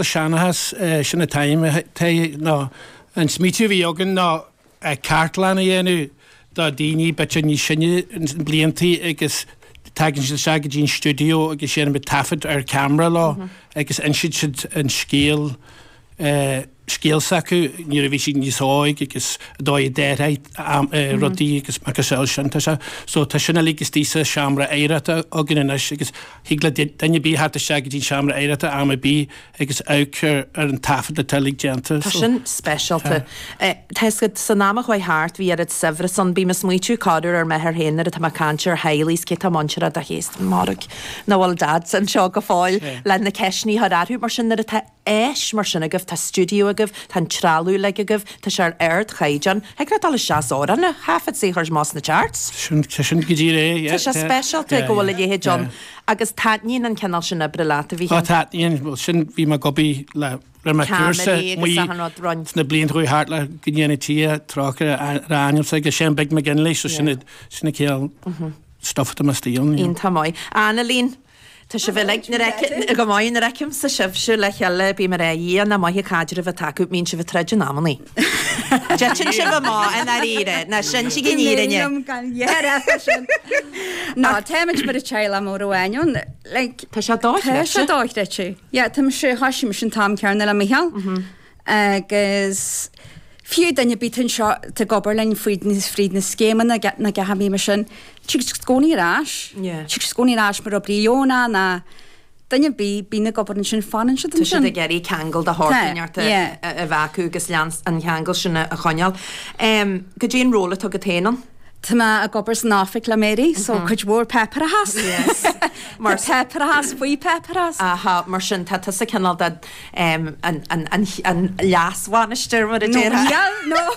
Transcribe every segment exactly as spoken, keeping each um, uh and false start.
le seanchas sin an t-aidhm ná an smaoitiú a bhí againn ná cartlann a dhéanamh do daoine b'fhéidir níos sine in bliantaí agus tagann siad isteach go dtí an stiúideo agus déanaimid taifead ar ceamara leo agus insíonn siad an scéal scéal s'acu nuair a bhí siad níos óig agus an dóigh a d'athraigh rudaí agus macasamhail sin. Tá sé so tá sin uilig istigh sa seomra oidhreachta againn anois agus thig le duine ar bith theacht isteach go dtí an seomra oidhreachta am ar bith agus amharc ar ar an taifead atá uilig déanta. Tá sin speisialta. Tá fhios agat san am a chuaigh thart bhí oiread saibhreas ann. Bím ag smaoitiú corruair ar m'athair féin nuair atá mé ag caint ar theaghlaigh is cé atá muinteartha do chéasta mairg nach bhfuil Dad anseo go fóill le na ceisteanna a chur orthu. Mar sin nuair atá áis mar sin agaibh, tá stiúideo agaibh, tá an trealamh uilig agaibh, tá sé ar ardchaighdeán. Thig leat dul isteach is amhrán a thaifead is é a chur amach sna charts. Sin, tá sin go díreach é, yeah. Tá sé speisialta go bhfuil a leithéid ann. Agus taitníonn an cineál sin oibre leat, a Mhíchíl? Ó, taitníonn. Bhuel, sin, bhí mé ag obair le, rinne mé cúrsa Ceamaraí agus achan rud, roinn. sna blianta a chuaigh thart le go ndéana Dia trócaire ar a anamsa agus Séan Big McGinley, so sin, sin an cineál stuff atá mé istigh ann. Iontach maith. Annalene, Tá sibh uilig, nuair a fheicim, go maith, nuair a fheicimse sibhse le chéile, bím ag rá, a Dhia, nach maith an caidreamh atá acu, mbíonn sibh ag troid in amannaí. Titeann sibh amach i ndáiríre, ná sin an fhírinne. Liom gan dhea sin. Ná, táimid mar a teaghlach mór amháin ann, like, Tá sé dochreidte. Tá sé dochreidte. Yeah, tá mise, thoisigh mise an t-am céanna le Micheál. Agus fiú duine ar bith anseo atá ag obair linn fríd na fríd na scéimeanna na gach mí mar sin, tig siad i gcónaí ar ais. Yeah. Tig siad i gcónaí ar ais mar oibrí dheonach ná duine ar bith bíonn ag obair ansin fanann siad Tá siad ansin. ag iarraidh ceangal de shórt Tá, inteacht yeah. a bheith acu agus lean an cheangal sin a choinneáil. Goidé an ról atá agat féin ann? Tá mé ag obair san oifig le Mary, so cuid mhór páipéarachas. Yes. Mar páipéarachas faoi páipéarachas. Aha, mar sin tá tusa cineál de um, an, an, an, an leasbhainisteoir mar a déarfá. No, no.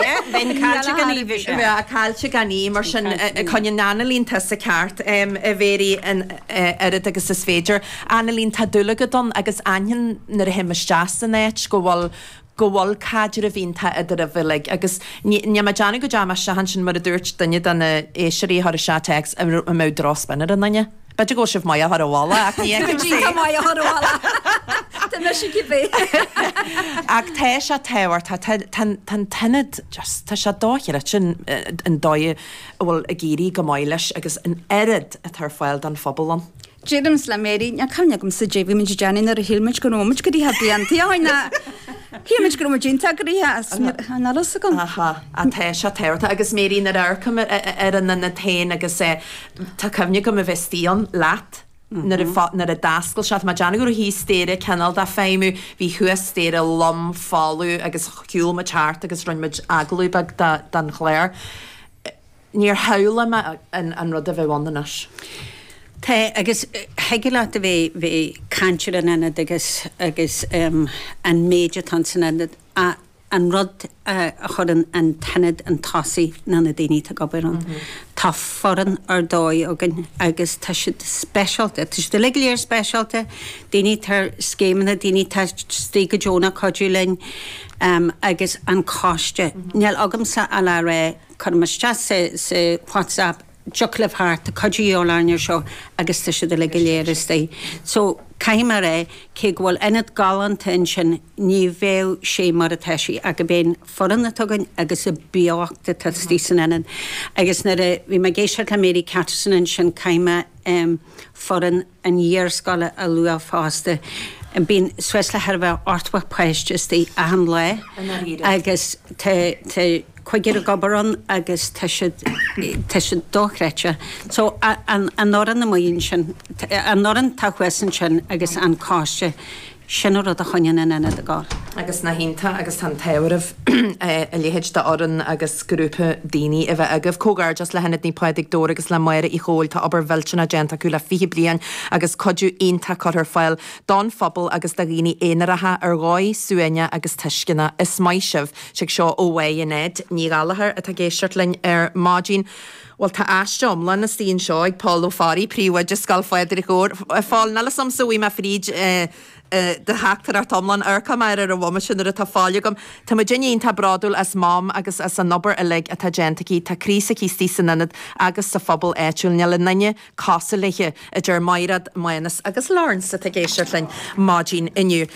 Yeah, bheinn caillte gan í bhí sé. Bheadh caillte gan í mar sin coinníonn Annalene tusa ceart um, a Mhary an oiread agus is féidir. Annalene tá dúil agat ann agus aithním nuair a théim isteach san áit go bhfuil go bhfuil caidreamh iontach idir sibh uilig agus ní ní mé ag déanamh go dteachaigh mé isteach ansin mar a dúirt duine de na éisteoirí a chuir isteach téacs a mbeadh drochspin ar an duine. B'fhéidir go bhfuil sibh maith a chur abhaile ach ní fheicim Tá maith a chur abhaile. Tá mise cibé. Ach tá sé tábhachtach tá tá tá an t-ionad just tá sé dochreidte an an dóigh a bhfuil ag éirí go maith leis agus an oiread atá ar fáil don phobal ann. Deirimse le Mary, níl cuimhne agamsa goidé bhí muid ag déanamh nuair a shíl muid go raibh muid gnoitheach blianta ó shin ná shíl muid go raibh muid iontach gnoitheach is níl a fhios agam. Aha, á tá sé tábhachtach agus Mary nuair a amharcaim ar an ionad féin agus tá cuimhne agam a bheith istigh ann leat nuair a nuair a d'oscail sé, tá mé ag déanamh go raibh thíos staighre cineál de feidhmiú, bhí thuas staighre lom folamh agus shiúil muid thart agus rinne muid agallamh beag don chlár. Níor shamhlaigh mé an rud a bheadh ann anois. Tá, agus thig leat a bheith bheith caint ar an ionad agus agus um, an méid atá san ionad a an rud a, a chuireann an t-ionad an tosaigh ná na daoine atá ag obair ann. Mm -hmm. Tá foireann ar dóigh againn agus tá siad speisialta, Tá siad uilig go léir speisialta, daoine ar scéimeanna, daoine atá istigh go deonach cuidiú linn um, agus an coiste. Mm -hmm. Níl agamsa a le rá cuirim isteach sa, sa WhatsApp dtiocfadh libh thart, tá cuidiú de dhíobháil orainn ar seo agus tá siad uilig go léir istigh. So caithfidh mé a rá cé go bhfuil ionad galánta ansin ní bheadh sé mar atá sé ach gurb é an foireann atá againn agus an beocht atá istigh san ionad. Agus nuair a bhí mé ag éisteacht le Mary Catterson ansin caithfidh mé um, foireann an iarscoile a lua fosta. Bíonn suas le thar a bheith ochtó páiste istigh achan lá agus tá tá cúigear ag obair ann agus tá siad tá siad dochreidte. So an an fhoireann amuigh ansin an fhoireann atá thuas ansin agus an coiste sin an rud a choinníonn an ionad ag gabháil. Agus nach iontach agus tá an t-ádh oraibh a leithéid d'fhoireann agus grúpa daoine a bheith agaibh. Comhghairdeas le hIonad Naomh Pádraig Dobhair agus le Máire Uí Chomhaill tá obair mhillteanach déanta acu le fiche bliain agus cuidiú iontach curtha ar fáil don phobal agus do dhaoine aonaracha ar dhóigh suaimhneach agus tuisceanach. Is maith sibh. Tig seo ó Mhaigh Ned Ní Ghallchóir atá ag éisteacht linn ar maidin. Bhuel tá aiste iomlán istigh anseo ag Pól Ó Fearraigh, príomhoide Scoil Phádraig Dhobhair. Phól, níl 'fhios a'msa bhí mé fríd do theachtaireacht iomlán amharcfaidh mé air ar an bhomaite nuair atá fáil agam. Tá muid iontach bródúil as Mam agus as an obair uilig atá déanta aici. Tá croí s'aici istigh san ionad agus sa phobal áitiúil. Níl aon duine cosúil léi, a deir Mairéad, Mánas agus Lawrence atá ag éisteacht linn maidin inniu.